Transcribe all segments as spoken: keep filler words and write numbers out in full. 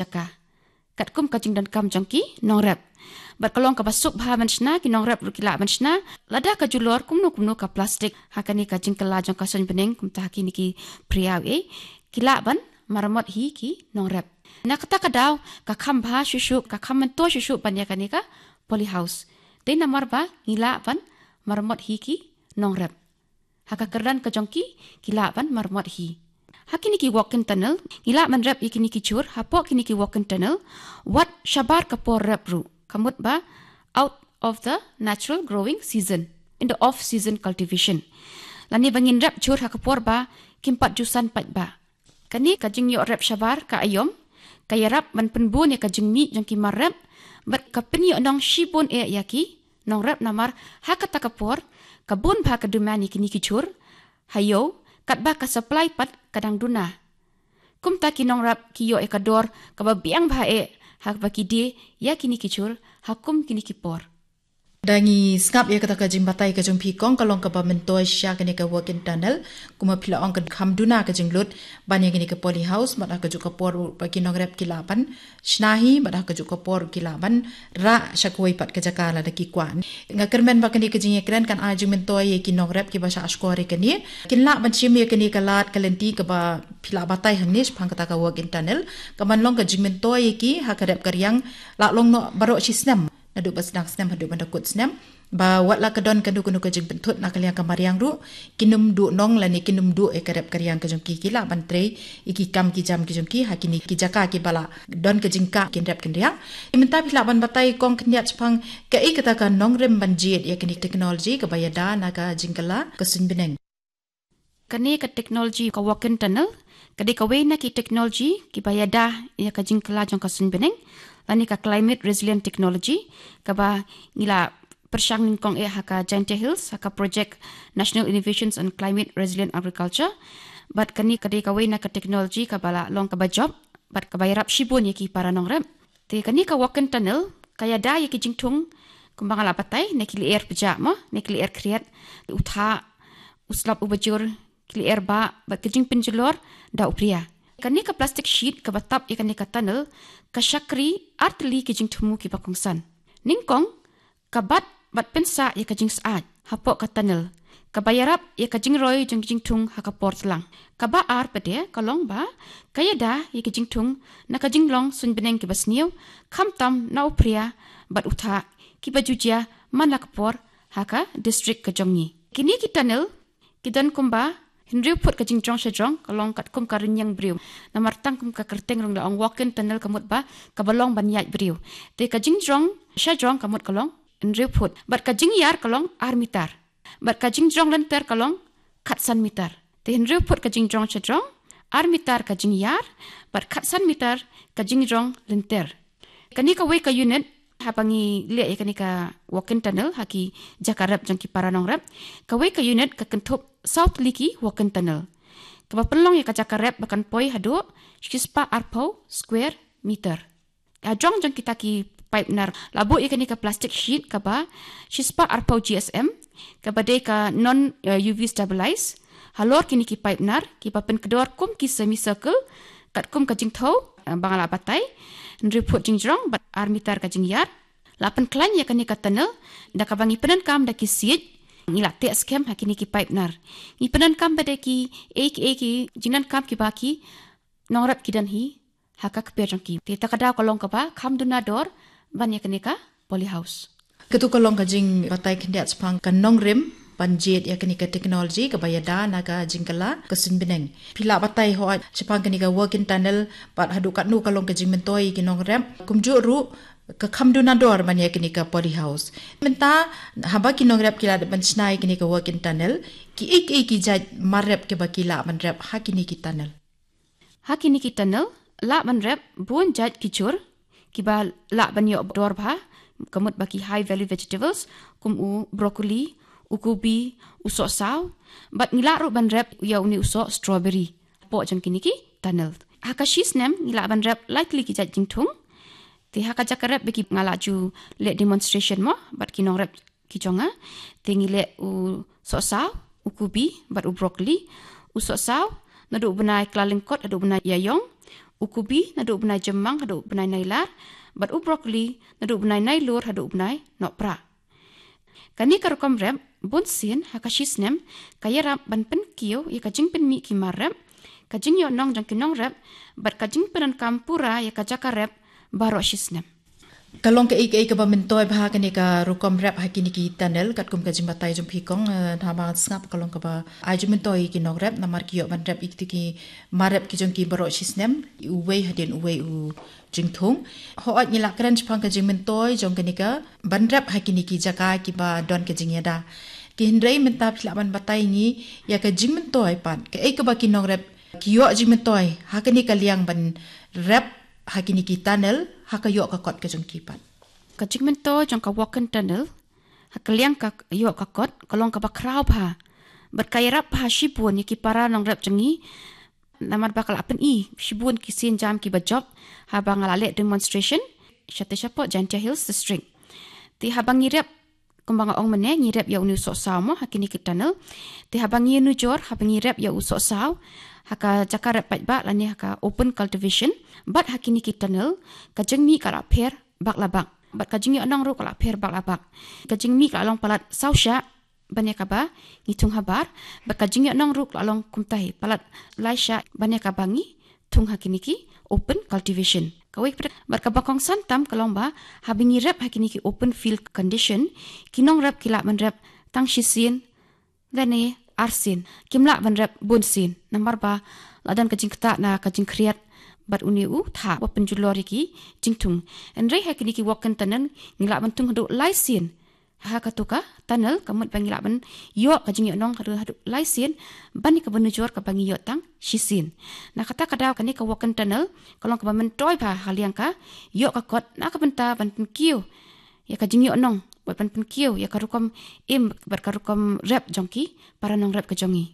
jaka. Katkum ka jingdonkam jong ki nongrep. Bad ka long kaba suk bha ban shna, ki nongrep ruh ki lah ban shna. Lada ka julor kumno kumno ka plastik ha kane ka jingkylla jong ka suiñ bneng, kumta ha kine ki phriaw eh, ki lah ban maramot hi ki nongrep. Na kata ka daw ka kham bha shuh shuh, ka kham myntoi shuh shuh ban ïa kane ka polyhouse. Te namar ba ngi lah ban maramot hi ki nongrep. Ha ka kyrdan ka jong ki, ki lah ban maramot hi. Ha kine ki walk-in tunnel, ngi lah ban rep ïa kine ki jhur, hapoh kine ki walk-in tunnel, wat shabar ka por rep ruh. Ka mut ba out of the natural growing season, in the off season cultivation. Lane ba ngin rep jhur ha ka por ba kim pat ju san pat ba. Kane ka jingïoh rep shabar ka aïom, ka ïarap ban pynbun ïa ka jingmih jong ki mar rep, bad ka pynïoh nong shibun eh ïa ki nongrep namar ha kata ka por ka bun bha ka demand ïa kine ki jhur ha ïew, katba ka supply pat ka dang duna. Kumta ki nongrep ki ïoh ïa ka dor kaba biang bha eh ha kaba ki die ïa kine ki jhur ha kum kine ki por. Da ngi sngap ïa kata ka jingbatai ka jong phi kong, ka long kaba myntoi shisha kane ka walk-in tunnel. Kumba phi la ong, ka kham duna ka jinglut ban ïa kane ka polyhouse, bad ha kajuh ka por ba ki nongrep ki lah ban shna hi, bad ha kajuh ka por ki lah ban rah sha kawei pat ka jaka lada ki kwah. Nga kyrmen ba kane ka jingïakren kan ai jingmyntoi ïa ki nongrep kiba shah shkor ïa kane. Kin lah ban shim ïa kane ka lad ka lynti kaba phi la batai hangne shaphang kata ka walk-in tunnel, ka ban long ka jingmyntoi ïa ki ha ka rep ka riang, la long noh baroh shi snem, naduh ba sdang snem haduh ban da kut snem, ba wat la ka don kano kano ka jingpynthut na ka liang ka mariang ruh, kin ym duh nong lane kin ym duh ïa ka rep ka riang ka jong ki, ki lah ban trei ïa ki kam ki jam ki jong ki ha kine ki jaka kiba la don ka jingkah kin rep kin riang. Te mynta phi lah ban batai kong khyndiat shaphang kaei kata ka nongrim ban jied ïa kane ka technology kaba ïada na ka jingkylla ka suiñ bneng. Kane ka technology ka walk-in tunnel ka dei kawei na ki technology kiba ïada ïa ka jingkylla jong ka suiñ bneng, lane ka climate resilient technology, kaba ngi la pyrshang nyngkong eh ha ka Jaintia Hills ha ka project National Innovations on Climate Resilient Agriculture. Bad kane ka dei kawei na ka technology kaba la long kaba jop bad kaba ïarap shibun ïa ki para nongrep. Te kane ka walk-in tunnel ka ïada ïa ki jingthung kumba nga la batai, na ki lyer pjah mo, na ki lyer khriat, u thah, u slap uba jur, ki lyer bah, bad ka jingpynjulor da u phria. Kane ka plastic sheet kaba tap ïa kane ka tunnel ka shakri artylli ki jingthmu kiba kongsan. Nyngkong, ka bat bad pynsah ïa ka jingsyaid hapoh ka tunnel, kaba ïarap ïa ka jingroi jong ki jingthung ha ka por tlang. Kaba ar pat de ka long ba ka ïada ïa ki jingthung na ka jinglong suiñ bneng kiba sniew, khamtam na u phria bad u thah, kiba ju jia man la ka por ha ka district ka jong ngi. Kine ki tunnel ki don kumba hynriew phut ka jingjrong shajrong, ka long katkum ka rynïeng briew. Namar tang kum ka kyrteng ruh la ong walk-in tunnel, ka mut ba kaba long ban ïaid briew. Te ka jingjrong shajrong ka mut ka long hynriew phut, bad ka jingïar ka long ar mitar, bad ka jingjrong lynter ka long khatsan mitar. Te hynriew phut ka jingjrong shajrong, ar mitar ka jingïar, bad khatsan mitar ka jingjrong lynter. Kane kawei ka unit, haba ngi leh ïa kane ka walk-in tunnel ha ki jaka rep jong ki para nongrep, kawei ka unit ka kynthup saw tylli ki walk-in tunnel, kaba pynlong ïa ka jaka rep ba kan poi haduh shispah arphew square meter. Hajrong jong kita ki pipe nar la buh ïa kane ka plastic sheet kaba shispah arphew G S M, kaba dei ka non, eh, U V stabilize. Halor kine ki pipe nar kiba pynkdor kum ki semicircle, katkum ka jingthew, eh, ba nga la batai, hynriew phut jingjrong bad ar mitar ka jingïar. La pynkhlaiñ ïa kane ka tunnel da kaba ngi pyndonkam da ki siej, ngi la teh skhem ha kine ki pipe nar. Ngi pyndonkam pat da ki, eh, ki, eh, ki jingdonkam kiba ki nongrep ki don hi ha ka kper jong ki. Te kata ka daw ka long kaba kham duna dor ban ïa kane ka polyhouse. Katu ka long ka jingbatai khyndiat shaphang ka nongrim ban jied ïa kane ka technology kaba ïada na ka jingkylla ka suiñ bneng. Phi la batai hooid shaphang kane ka walk-in tunnel, bad haduh katno ka long ka jingmyntoi ïa ki nongrep. Kumjuh ruh ka kham duna dor ban ïa kane ka polyhouse. Mynta haba ki nongrep ki la dep ban shna ïa kane ka walk-in tunnel, kiei kiei ki jait mar rep kiba ki lah ban rep ha kine ki tunnel? Ha kine ki tunnel lah ban rep bun jait ki jhur kiba lah ban ïoh dor bha, ka mut ba ki high value vegetables kum u broccoli, u kubi, u sohsaw, bad ngi lah ruh ban rep ïa une u soh strawberry hapoh jong kine ki tunnel. Ha ka shi snem ngi lah ban rep lai tylli ki jait jingthung. Te ha ka jaka rep ba ki, nga la ju leh demonstration mo bad ki nongrep ki jong nga. Te ngi leh u sohsaw, u kubi bad u broccoli. U sohsaw naduh u bnai Kyllalyngkot haduh u bnai Ïaïong. U kubi naduh u bnai Jymmang haduh u bnai Nailar, bad u broccoli naduh u bnai Nailur haduh u bnai Nohprah. Kane ka rukom rep bun sien ha ka shi snem ka ïarap ban pynkiew ïa ka jingpynmih ki mar rep, ka jingïoh nong jong ki nongrep, bad ka jingpyndonkam pura ïa ka jaka rep baroh shi snem. Ka long kaei kaei kaba myntoi bha kane ka rukom rep ha kine ki tunnel, katkum ka jingbatai jong phi kong, eh, haba sngap ka long kaba ai jingmyntoi ïa ki nongrep, namar ki ïoh ban rep ïa kito ki mar rep ki jong ki baroh shi snem, uwei hadien uwei u jingthung. Hooid ngi la kren shaphang ka jingmyntoi jong kane ka ban rep ha kine ki jaka kiba don ka jingïada. Ki hynrei mynta phi lah ban batai ngi ïa ka jingmyntoi pat, kaei kaba ki nongrep ki ïoh jingmyntoi ha kane ka liang ban rep ha kine ki tunnel ha ka ïoh ka kot ka jong ki pat. Ka jingmyntoi jong ka walk-in tunnel ha ka liang ka ïoh ka kot ka long kaba khraw bha, bad ka ïarap bha shibun ïa ki para nongrep jong ngi, namar ba ka la pyni shibun ki sienjam kiba jop haba nga la leh demonstration shatei shapoh Jaintia Hills District. Te haba ngi rep, kumba nga ong mynne, ngi rep ïa une u sohsaw mo ha kine ki tunnel. Te haba ngi nujor, haba ngi rep ïa u sohsaw ha ka jaka rep paidbah lane ha ka open cultivation, bad ha kine ki tunnel, ka jingmih ka la pher bak la bak, bad ka jingïoh nong ruh ka la pher bak la bak. Ka jingmih ka la long palat saw shah ban ïa kaba ngi thung habar, bad ka jingïoh nong ruh ka la long kumta hi, palat lai shah ban ïa kaba ngi thung ha kine ki open cultivation. Kawei pat, bad kaba kongsan tam ka long ba haba ngi rep ha kine ki open field condition, ki nongrep ki lah ban rep tang shisien lane arsien, kim lah ban rep bun sien, namar ba la don ka jingktah na ka jingkhriat bad une u thah ba pynjulor ïa ki jingthung. Hynrei ha kine ki walk-in tunnel ngi lah ban thung haduh lai sien ha kato ka tunnel, ka mut ba ngi lah ban ïoh ka jingïoh nong haduh, haduh lai sien ban ïa kaba nujor kaba ngi ïoh tang shisien. Na kata ka daw kane ka walk-in tunnel ka long kaba myntoi bha ha liang ka ïoh ka kot, na ka bynta ban pynkiew ïa ka jingïoh nong, bad ban pynkiew ïa ka rukom im bad ka rukom rep jong ki para nongrep ka jong ngi.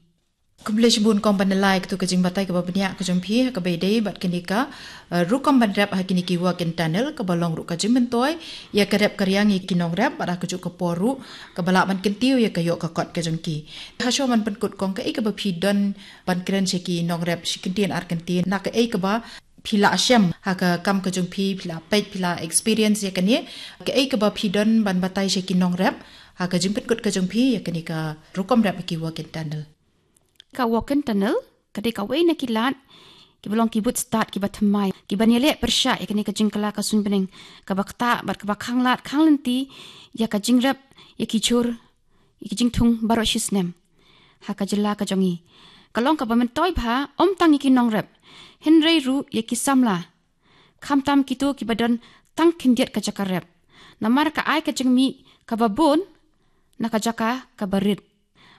Khublei shibun kong ban ïaleh ïa kato ka jingbatai kaba bniah ka jong phi ha kaba ïadei bad kane ka, eh, rukom ban rep ha kine ki walk-in tunnel, kaba long ruh ka jingmyntoi ïa ka rep ka riang ïa ki nongrep, bad ha kajuh ka por ruh kaba lah ban kyntiew ïa ka ïoh ka kot ka jong ki. Hashwa ban pynkut kong, kaei kaba phi don ban kren sha ki nongrep shi kyntien ar kyntien, na kaei kaba phi la shem ha ka kam ka jong phi, phi la peit, phi la experience ïa kane, kaei kaba phi don ban batai sha ki nongrep ha ka jingpynkut ka jong phi ïa kane ka rukom rep ha ki walk-in tunnel? Ka walk-in tunnel ka dei kawei na ki lad kiba long ki bud stad kiba thymmai, kiban ïaleh pyrshah ïa kane ka jingkylla ka suiñbneng kaba ktah bad kaba khanglad khanglynti ïa ka jingrep ïa ki jhur, ïa ki jingthung baroh shi snem ha ka jylla ka jong ngi. Ka long kaba myntoi bha ym tang ïa ki nongrep, hynrei ruh ïa ki samla, khamtam kito kiba don tang khyndiat ka jaka rep, namar ka ai ka jingmih kaba bun na ka jaka kaba rit.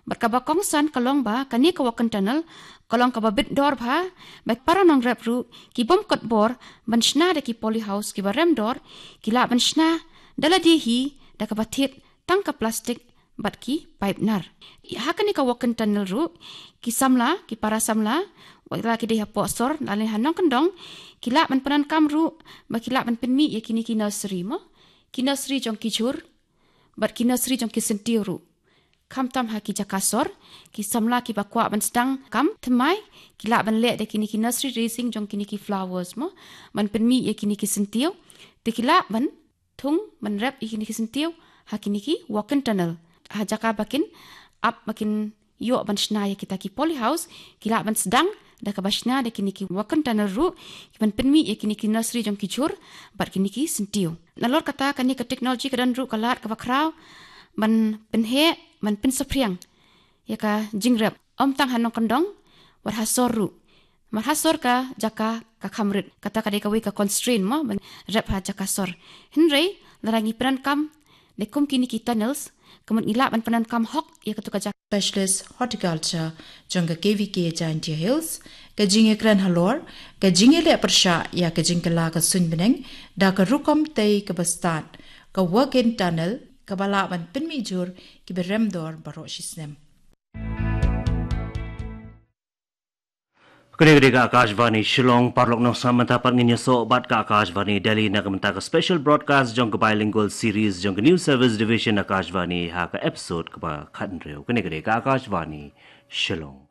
Bad kaba kongsan ka long ba kane ka walk-in tunnel ka long kaba bit dor bha, ba para nongrep ruh ki bym kot bor ban shna da ki polyhouse kiba rem dor, ki lah ban shna da lade hi da kaba thied tang ka plastik bad ki paip nar. Ha kane ka walk-in tunnel ruh ki samla, ki para samla, wat la ki dei hapoh sor lane ha nongkyndong, ki lah ban pyndonkam ruh ba ki lah ban pynmih ïa kine ki nursery mo, ki nursery jong ki jhur bad ki nursery jong ki syntiew ruh. Khamtam ha ki jaka sor, ki samla kiba kwah ban sdang kam thymmai ki lah ban leh da kine ki nursery raising jong kine ki flowers mo, ban pynmih ïa kine ki syntiew. Te ki lah ban thung ban rep ïa kine ki syntiew ha kine ki walk-in tunnel. Ha jaka ba kin ap, ba kin ïoh ban shna ïa kita ki polyhouse, ki lah ban sdang da kaba shna da kine ki walk-in tunnel ruh, kiban pynmih ïa kine ki nursery jong ki jhur bad kine ki syntiew. Nalor kata, kane ka technology ka don ruh ka lad kaba khraw ban pynheh, ban pynsaphriang ïa ka jingrep, ym tang ha nongkyndong, wat ha sor ruh. Namar ha sor ka jaka ka kham rit, kata ka dei kawei ka constraint mo, ban rep ha jaka sor. Hynrei lada ngi pyndonkam da kum kine ki tunnels, ka mut ngi lah ban pyndonkam hok ïa kato ka jaka. Specialist Horticulture jong ka K V K Jaintia Hills, ka jingïakren halor ka jingïaleh pyrshah ïa ka jingkylla ka suiñbneng da ka rukom tei kaba stad, ka walk-in tunnel, kaba lah ban pynmih jhur kiba rem dor baroh shi snem. Kane ka dei ka Akashvani Shillong. Paralok nongshna, mynta pat ngin ïasoh bad ka Akashvani Delhi na ka bynta ka special broadcast jong ka bilingual series jong ka News Service Division Akashvani ha ka episode kaba khathynriew. Kane ka dei ka Akashvani Shillong.